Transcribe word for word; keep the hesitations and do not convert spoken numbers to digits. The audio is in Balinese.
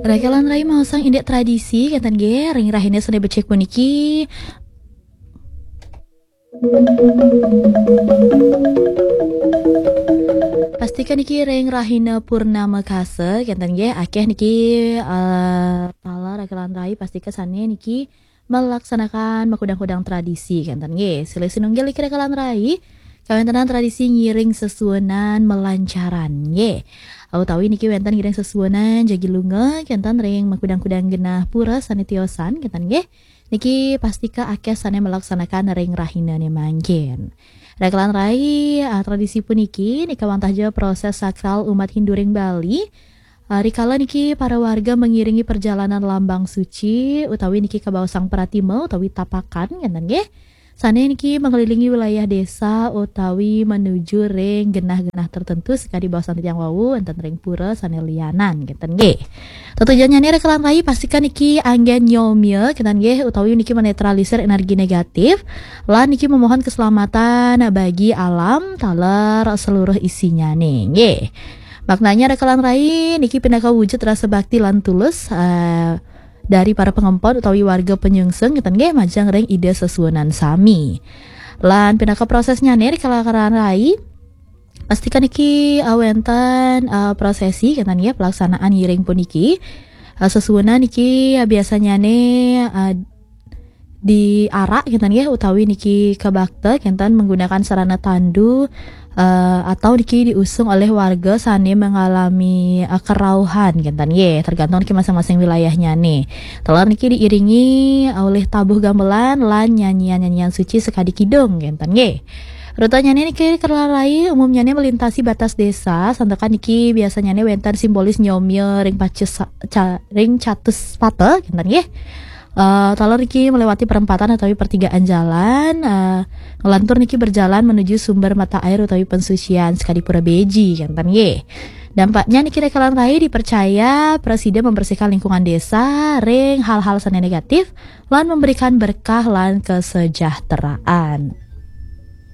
Rakalan rai maosang indik tradisi, kenten nggih, ring rahina sane becik puniki. Pastika niki ring rahina purnama kasa, kenten nggih, akeh niki, eh, taler rakalan rai pastika sane niki melaksanakan makudang-kudang tradisi, kenten nggih. Silih sinunggil niki rakalan rai, kawentenan tradisi ngiring sesuunan melancaran, nggih. Utawi niki wenten ngiring sesuunan jagi lunga, kenten ring makudang-kudang genah pura sane tiosan, kenten nggih. Niki pastika akeh sane melaksanakan ring rahinane mangkin. Rakalan rai, ah, tradisi puniki nika wantah ja proses sakral umat Hindu ring Bali. Ah, rikala niki para warga mengiringi perjalanan lambang suci utawi niki kabaosang pratima utawi tapakan, kenten nggih. Sane niki mengelilingi wilayah desa utawi menuju ring genah-genah tertentu sakadi baosan titiang wau wenten ring pura sane lianan, kenten nggih. Tetujonnyane rakalan rai pastika niki anggen nyomya, kenten nggih, utawi niki menetralisir energi negatif, lan niki memohon keselamatan bagi alam taler seluruh isinyane, nggih. Maknanya rakalan rai niki pinaka wujud rasa bakti lan tulus, eh, dari para pangempon utawi warga panyungsung, kenten nggih, majeng ring Ida sesuunan sami. Lan pinaka prosesnyane rakalan rai, pastika niki, eh, wenten, eh, prosesi, kenten nggih, pelaksanaan ngiring puniki. Eh, sesuunan niki, eh, biasanyane, eh, diarak, kenten nggih, utawi niki kabakta, kenten menggunakan sarana tandu, eh, atau niki diusung oleh warga sane mengalami, eh, kerauhan, kenten nggih, tergantung niki masing-masing wilayahnyane. Taler niki diiringi oleh tabuh gamelan lan nyanyian-nyanyian suci sakadi kidung, kenten nggih. Rutanyane niki rakalan rai umumnyane melintasi batas desa, santukan niki biasanyane wenten simbolis nyomya ring pacis sa-, ca-, ring catus pata, kenten nggih. Eh, taler niki melewati perempatan utawi pertigaan jalan, eh, ngelantur niki berjalan menuju sumber mata air utawi pensucian sakadi pura beji, kenten nggih. Dampaknya niki rakalan rai dipercaya prasida membersihkan lingkungan desa ring hal-hal sane negatif lan memberikan berkah lan kesejahteraan.